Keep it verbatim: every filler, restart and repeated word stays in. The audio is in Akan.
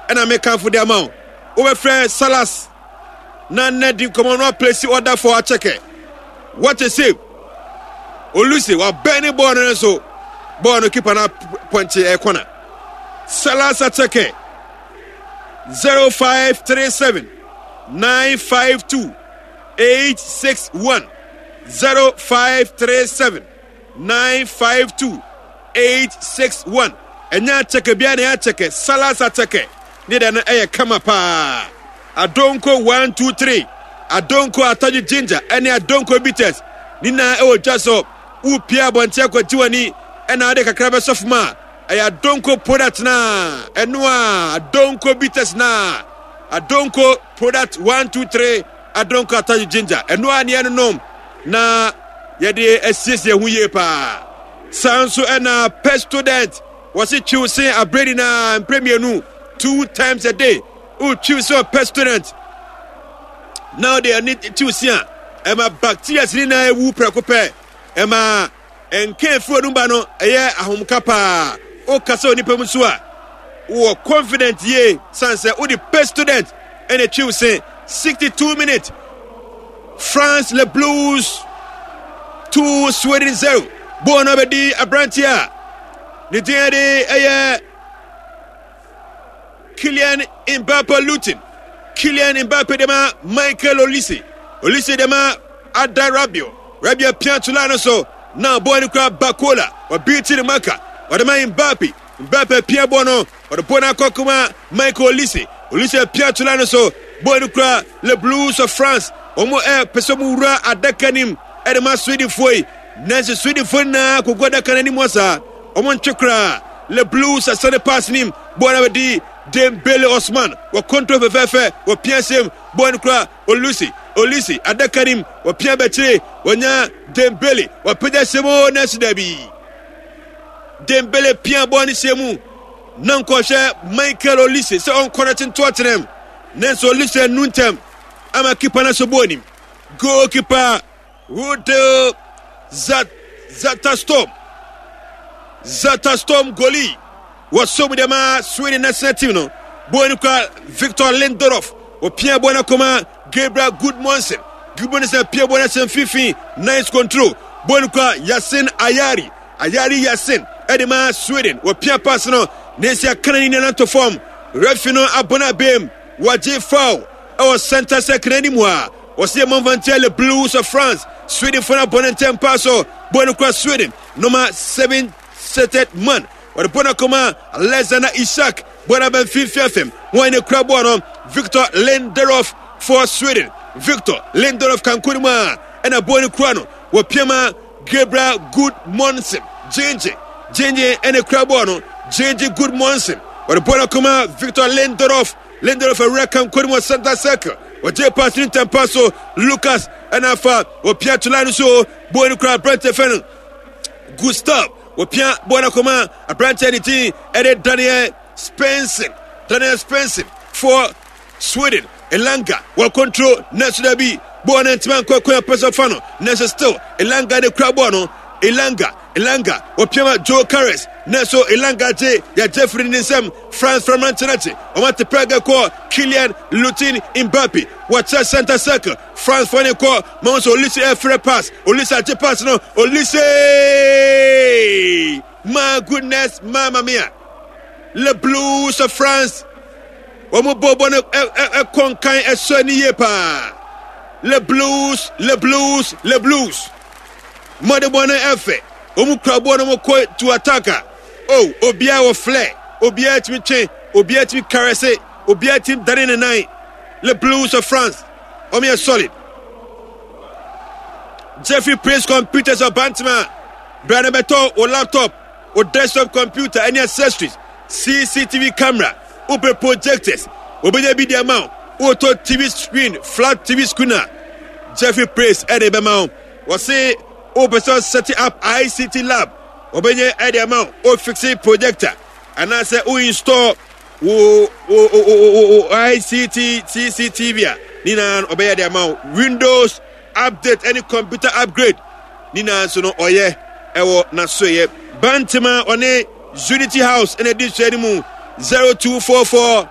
Ɛna mekamfo de ama wo, wobɛfrɛ Salas na nnɛ di nkɔmmɔ no aplace order for akyɛkɛ. What a save! Olise wabɛn ne bɔɔl no nso bɔɔl no keeper no pɔnkye ɛkɔna. Salas akyɛkɛ, zero five three seven nine five two eight six one, zero five three seven nine five two eight six one. Ɛnyɛ akyɛkɛ biara na ɛyɛ akyɛkɛ, Salas akyɛkɛ ne deɛ no ɛyɛ kama paa. Adonko one two three, Adonko atɔgye ginger ɛne Adonko bitters ne nyinaa ɛwɔ dwa so. Wopia abɔnten akɔgye w'ani ɛna ade kakra bɛsɔ fam a, ɛyɛ Adonko product na ɛno a Adonko bitters na Adonko product one two three, Adonko atɔgye ginger, ɛno a neɛ no nom na yɛde asiesie ho yie paa. Saa nso ɛna Pepsodent wɔsi twiw sen abredi na mpere mmienu, two times a day. Wotwiw sɛ Pepsodent na ɔde ɛne twiw sin a, ɛma bacteria nyinaa ewu prɛko pɛ. Ɛma nka efi wɔn ba no ɛyɛ ahomka paa. Wokasa onipa mu nso a, wɔ confident yie san sɛ wode Pepsodent ɛna twiw sen. sixty-two minutes, France Le Blues two, Sweden zero. Bɔɔl no abɛdi aberanteɛ a ne din de ɛyɛ Kylian Mbappe Luton. Kylian Mbappe de ma Michael Olise. Olise de ma Ada Rabiot. Rabiot pia to line no so na bɔɔl no kura Barcola. Ɔbeat ne marker, ɔde ma Mbappe. Mbappe pia bɔɔl no, ɔde bɔɔl no akɔ kuma Michael Olise. Olise pia to line no so, bɔɔl no kura Le Blues of France. Wɔn ɛ pɛ sɛ wɔn wura adaka nim ɛde ma Swedenfoɔ yi, nanso Swedenfoɔ nyinaa kogu adaka no anim hɔ saa, wɔn ntwe koraa. Le Blues asane pass nim, bɔɔl no abɛdi Dembele Osman. Wɔ control fɛfɛɛfɛ, wɔ pia sɛm, bɔɔl no kura Olise. Olise adaka nim, wɔpia bɛkyire, wɔnya Dembele, wɔpagya hyɛ mu, nanso dabi, Dembele pia bɔɔl no hyɛ mu na nkɔhwɛ Michael Olise sɛ ɔnkɔ no tento atenam, nanso Olise nu ntɛm ama keeper no so bɔɔl nim. Goalkeeper Rudel Zat Zetterstorm Zetterstorm goalie wɔsom de ma Sweden national team no. Bɔɔl no kura Victor Lindelof. Wɔpia bɔɔl no akɔma Gabriel Gudmundsson. Gudmundsson pia bɔɔl no ahyɛ mfimfini, nice control. Bɔɔl no kura Yasin Ayari. Ayari Yasin ɛde ma Sweden. Wɔpia pass no na esi akana ne nana fam. Referee no abɔ no abɛm, wɔgye foul ɛwɔ center circle anim a wɔsi ɛmɔnfantia Le Blues of France. Sweden fo no abɔ ne ntɛm paa so. Bɔɔl no kura Sweden number seven seted man, wɔde bɔɔl no akɔma Alexander Isak. Bɔɔl no aba mfimfini afɛm. Wɔn ne kura bɔɔl no, Victor Lindelof for Sweden. Victor Lindelof kanko no mu a ɛna bɔɔl no kura no, wɔpia ma Gabriel Gudmundsson. Gyengye Gyengye ɛne kura bɔɔl no, Gyengye Gudmundsson wɔde bɔɔl no akɔma Victor Lindelof. Lindelof awura kanko no mu wɔ center circle, wɔgye pass ne ntɛmpa so. Lucas ɛna afa, wɔpia to line no so. Bɔɔl no kura aberante fɛ no Gustav. Wɔpia bɔɔl no akɔma aberante ne din ɛde Daniel Svensson. Daniel Svensson for Sweden. Elanga wɔ control, nanso dabi, bɔɔl no ntoma nkɔ kwan pɛ sɛ ɔfa no, nanso still Elanga ne kura bɔɔl no. Elanga, Elanga wɔpia ma Gyokeres, nanso Elanga gye, yɛgye firi ne nsam. France framante no akyi, wɔn ate pɛgɛ kɔ Kylian Lutin Mbappe. Wɔkyerɛ center circle, France fɔ ne kɔ ma wɔn sɛ Olise ɛfrɛ pass. Olise agye pass no. Olise, my goodness, mama mia! Le Blues of France wɔn bɔ bɔ no ɛkɔ nkan, ɛsɔ ani yie paa. Le Blues, Le Blues, Le Blues mmɔde bɔ no ɛfɛ. Wɔn kura bɔ no, wɔn kɔ to attack a, oh, obiara wɔ flair, obiara tumi twe, obiara tumi caress, obiara tumi dane ne nan. Le Blues of France wɔn yɛ solid. Jeffrey Praise Computers of Bantama, bra na bɛtɔ o laptop, o desktop computer ɛne accessories, C C T V camera, wopɛ projectors, obɛnya bi de ama wo. Wotɔ T V screen, flat T V screen a, Jeffrey Praise ɛde bɛma wo. Wɔse wopɛ sɛ set up I C T lab, wɔbɛnyɛ ɛde ama wo. Wofix projector anaasɛ wo install wo wo wo wo I C T C C T V a, ne nyinaa ɔbɛyɛ de ama wo. Windows update ɛne computer upgrade ne nyinaa nso no ɔyɛ ɛwɔ n'asoyɛ. Bantama ɔne Unity House ɛna di sua no mu, zero two four four.